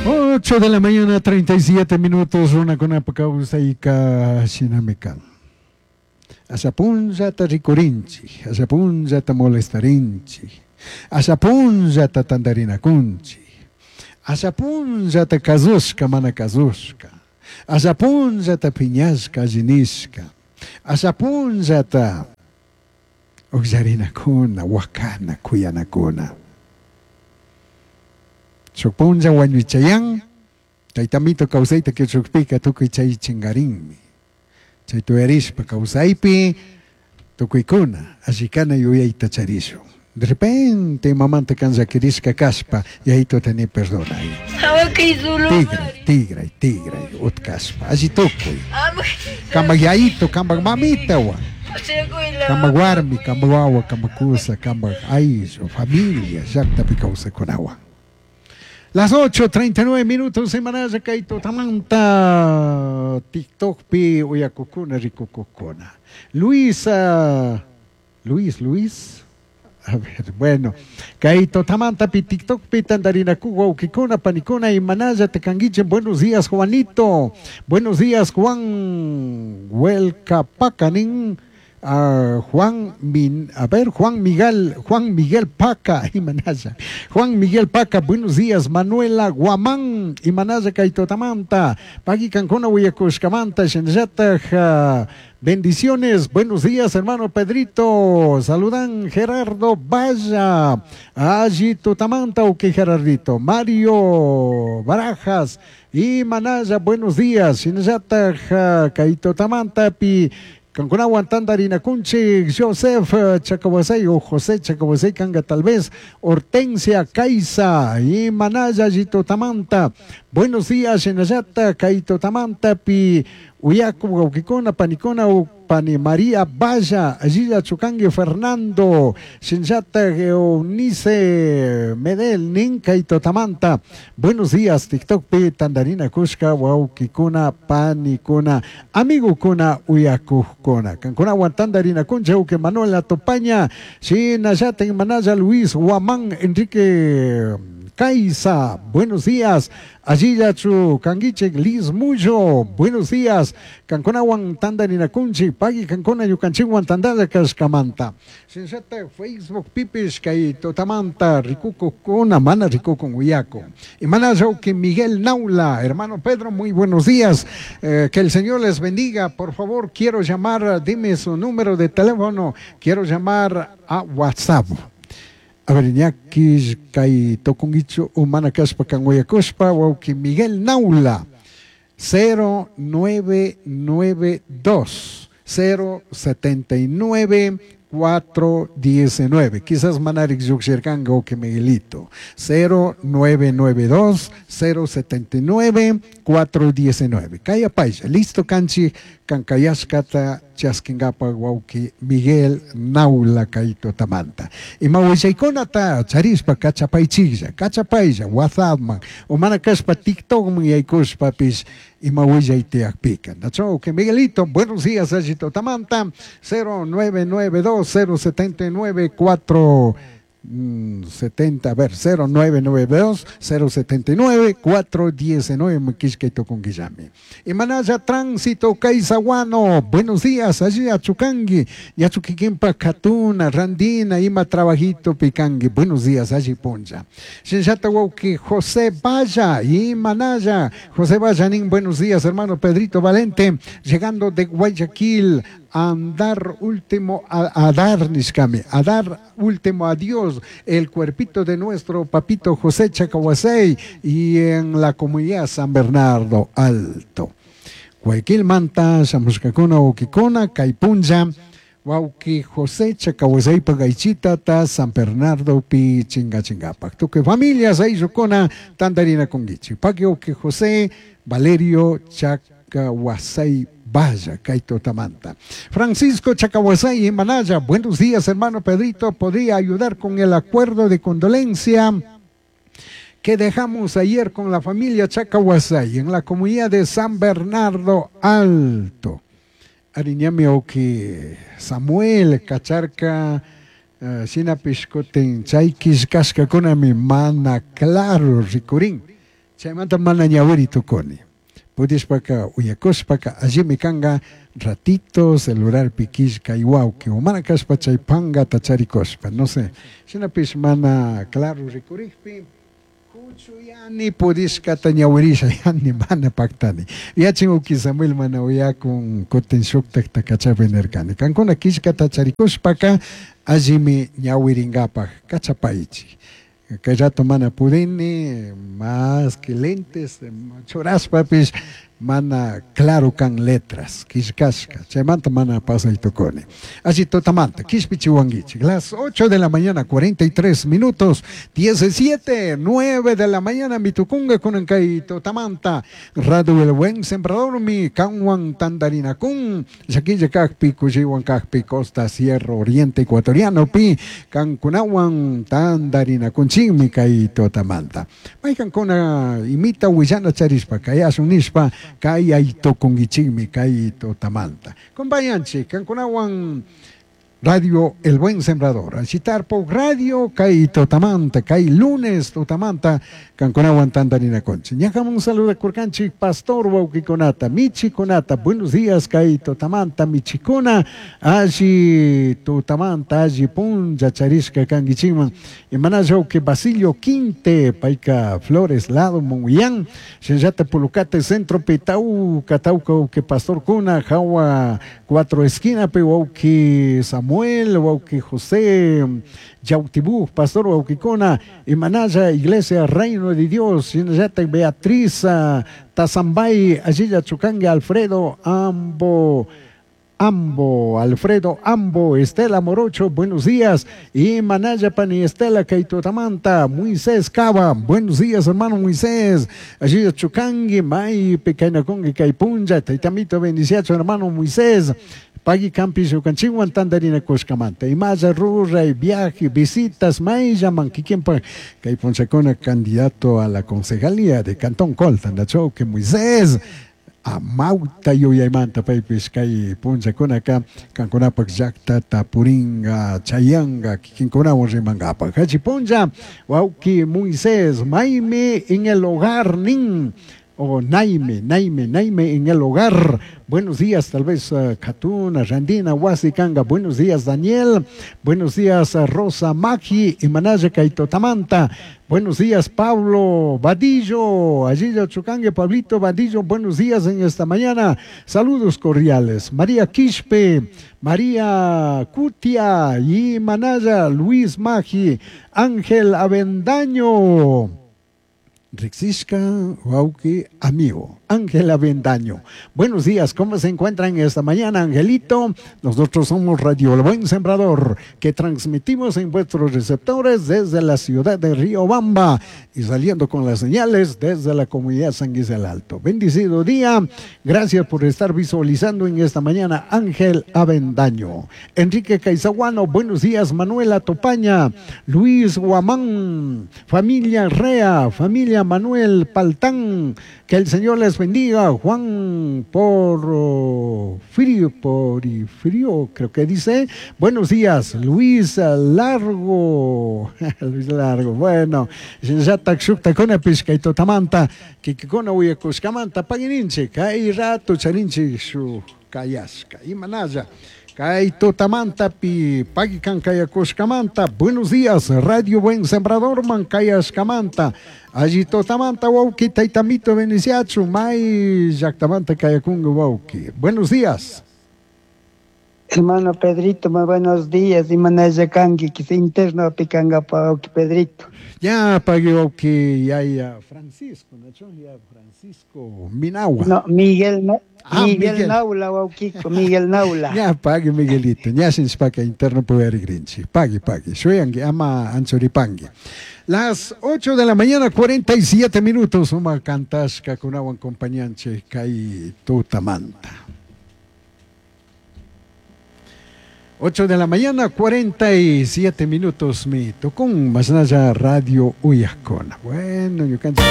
8 de la mañana, 37 minutos, runakunapa kawsayka shinami kan. Asha punllata rikurinchik, asha punllata molestarinchik, asha punllata tantarinakunchik, asha punllata kazushka mana kazushka, asha punllata piñashka alli nishka, asha punllata ukllarinakuna, wakana, kuyanakuna. Shuk punlla wañuchayan, taytamito kawsayta kichukpika tukuy chay chingarinmi. Chay tuyarishpa kawsaypi tukuykuna allikana yuyayta charishun. De repente mamanta kan llakirishka kashpa yayituta ni perdonay. Tigray, tigray, tigray, utkashpa, alli tukuy. Kampak yayito, kampak mamitawan. Kampak warmi, kampak wawa, kampak kusa, kampak ayllu, familia, llaktapi kawsakunawan. Las 8.39 minutos, semanalla kay tutamanta TikTokpi uyakukuna rikukukuna. Luisa, Luis, Luis. A ver, bueno, kay tutamantapi TikTokpi tantarinaku wawkikuna panikuna imanalla tekanguiche. Buenos días, Juanito. Buenos días, Juan Huelcapacanin. Juan Min, a ver, Juan Miguel, Juan Miguel Paca, Imanaya. Juan Miguel Paca, buenos días, Manuela Guamán, Imanaya Kaitotamanta, Pagui Cancuna Huyacushcamanta, Shenyataj, bendiciones, buenos días, hermano Pedrito, saludan Gerardo Valla, allí Tutamanta, ok Gerardito, Mario Barajas, y Manaya, buenos días, Shenyataj, Kaitotamanta, Pi, Cancunawan Tandarinakunchi, Joseph Chacahuasay o José Chacahuasay Canga tal vez, Hortensia Caiza y Manaya Tamanta. Buenos días, Shenayata, Kaito Tamanta, Pi, Uyaku, Gauquicona, Panicona, Pani María Valla, Allilla Chucangue Fernando, Shenayata, Eunice Medel, Nin, Kaito Tamanta. Buenos días, TikTok Pi, Tandarina Kushka, Wauquicuna, Panicuna, Amigo Kuna, Uyakujcona. Cancuna, Tandarina Kuncha, Uque Manuela Topaña, Shinayata, Manaya Luis, Guamán, Enrique Caiza, buenos días. Allí Chu Canguiche, Liz Muyo, buenos días. Canconawan Tandarinakunchi, Pagui Cancona Yucanchiwan Tandaya Cascamanta. Sensata Facebook Pipis, Kai Totamanta, Ricuco Cona, Mana Ricuco Uyaco. Y Mana que Miguel Naula, hermano Pedro, muy buenos días. Que el Señor les bendiga. Por favor, quiero llamar, dime su número de teléfono. Quiero llamar a WhatsApp. A ver, ñaki kay tokunguichu umana kashpa kanguyakushpa wawki Miguel Naula 0992 079 419. Quizás Manarik Yuxirkanga o que Miguelito. 0992 079 419. Kaya paisa. Listo kanchi kankayashkata chaskingapa wawki Miguel Naula kaito tamanta. Ima willaykunata charispa kachapaychiklla, kachapaylla, WhatsAppman, o mana kashpa TikTokman yaykushpapis ima willay tiyakpika. Nacho, que Miguelito, buenos días, allito tamanta, 0992 079 4 70, a ver, 0992 079 419 Mquishka con Guillame. Y Manaya Tránsito Caizaguano, buenos días, allí a Chucangui, Yachuquiquimpa Catuna, Randina, Ima Trabajito Picangui, buenos días, allí Poncha. Shinshata José Valla y Manaya, José Vallanín, buenos días, hermano Pedrito Valente, llegando de Guayaquil, a andar último, a dar, Nishkami, a dar último adiós el cuerpito de nuestro papito José Chacahuasey y en la comunidad San Bernardo Alto. Guayaquil Manta, Shamushkakuna, Okikuna, Caipunja, Wauki José Chacahuasey Pagaichita, ta San Bernardo Pi Chinga Chingapak. Tuque familias, Aizukona, Tandarina Conguichi. Pagui José Valerio Chacahuasey Vaya, Kaito Tamanta. Francisco Chacahuasay y Manaya, buenos días, hermano Pedrito. ¿Podría ayudar con el acuerdo de condolencia que dejamos ayer con la familia Chacahuasay en la comunidad de San Bernardo Alto? Ariñame Oki Samuel Cacharca Shinapish kutin chay killkashkakunami mana claro rikurin. Chaymanta mana ñawiri tukuni. Pudishpaka uyakushpaka allimi kanka ratito celularpi killkay wawqi o mana kashpa chay pankata charikushpa, no sé. Shinapish mana claro rikurikpi kuchuyani pudishkata ñawirisha yani mana paktani. Yachin uki Samuel mana uyakun kutin shuktakta kachapi nirkani. Kankuna killkata charikushpaka allimi ñawiringapaj kachapaychik. Kay rato mana pudini, más que lentes churashpapish mana claro kan letras, killkashka. Chaymanta mana pasay tukuni. Allí tutamanta, kishpichiwanguichik. Las 8 de la mañana, 43 minutos, 17, 9 de la mañana, mi tukunga kunan kay tutamanta. Radio El Buen Sembrador, mi kanwan tandarinakun, llaquilla kakpi, kushiwan kakpi, Costa Sierra Oriente Ecuatoriano, pi, kankunawan tandarinakunchik, mi kay tutamanta. Maykankuna imita willana charishpa, kayasun nishpa, kay aytukunkichikmi kay tutamanta. Compañanchik, kankunawan Radio El Buen Sembrador, Achitarpo Radio, kay tutamanta, kay lunes tutamanta, kankunawan tandarinakunchik. Ñakamun saluda kurkanchik, pastor wawqikunata, michikunata, buenos días kay tutamanta, michikuna, alli tutamanta, alli punlla charishka kankichikman. Imanalla wawqi Basilio Quinte, payka Flores lado Monguillán, shinallata Pulucate centro Pitauca, tauca wawqi pastor kuna, jawa cuatro esquina pi wawqi Samuel, wawqi José Yautibú, pastor wawqikuna, imanalla Iglesia Reino de Dios, shinallata Beatriz Tazambay, allilla Chucangue, Alfredo Ambo, Ambo, Alfredo Ambo, Estela Morocho, buenos días. Y Manaya Pani Estela Kaitotamanta, Moisés Cava, buenos días, hermano Moisés. Allí Chucangui, May, Pecainacongue, Caipunja, Taitamito, bendiciacho, hermano Moisés. Pagui Campi, Yucanchihuan, Tandarina, Coscamanta. Y Maya Rurra, y viaje, visitas, Maya, Manquiquempa, Caipunchacona, candidato a la concejalía de Cantón Coltan, que Moisés. Amauta yuyaymanta paypis kay punllakunaka kankunapak llaqtata puringa chayanga kikinkunawan rimankapak. Hachi punlla wawqi Moisés maymi en el hogar nin o Naime, Naime, Naime en el hogar. Buenos días, tal vez Katuna, Randina, Wasi Kanga. Buenos días, Daniel. Buenos días, Rosa Maki y Manaya Kaitotamanta. Buenos días, Pablo Vadillo. Allí Chucangue, Pablito Vadillo. Buenos días en esta mañana. Saludos cordiales. María Quispe, María Cutia y Manaya, Luis Magi, Ángel Avendaño. Rixishka, wauki, amigo, Ángel Avendaño. Buenos días, ¿cómo se encuentran esta mañana, Angelito? Nosotros somos Radio El Buen Sembrador, que transmitimos en vuestros receptores desde la ciudad de Riobamba y saliendo con las señales desde la comunidad San Guis del Alto. Bendecido día, gracias por estar visualizando en esta mañana, Ángel Avendaño. Enrique Caizaguano, buenos días, Manuela Topaña, Luis Guamán, familia Rea, familia Manuel Paltán, que el Señor les bendiga. Juan por frío, por frío, creo que dice. Buenos días, Luis Largo. Luis Largo, bueno. Kay rato charinchi shu kayashka. Imanalla. Kay tutamanta pi pagikan kayakushkamanta. Buenos días, Radio Buen Sembrador man kayashkamanta. Allí totamanta wauki taitamito beniciachu may llaqtamanta kayakungu wauki. Buenos días. Hermano Pedrito, muy buenos días. Imanalla kanki, que se interno pikanga pa wauki Pedrito. Ya pagui wauki ya ya Francisco, ¿no? Ya Francisco Minagua. No, Miguel no. Ah, Miguel, Miguel Naula, wauquico, Miguel Naula. Ya pagui Miguelito, ya sin spaca interno puede grinchi. Pagui, pagui. Shuyangi ama anchuripangi. Las 8 de la mañana, 47 minutos, uma kantashka kunawan compañanche kay tutamanta. 8 de la mañana, 47 minutos, mi tocón, más allá Radio Uyascona. Bueno, yo canto.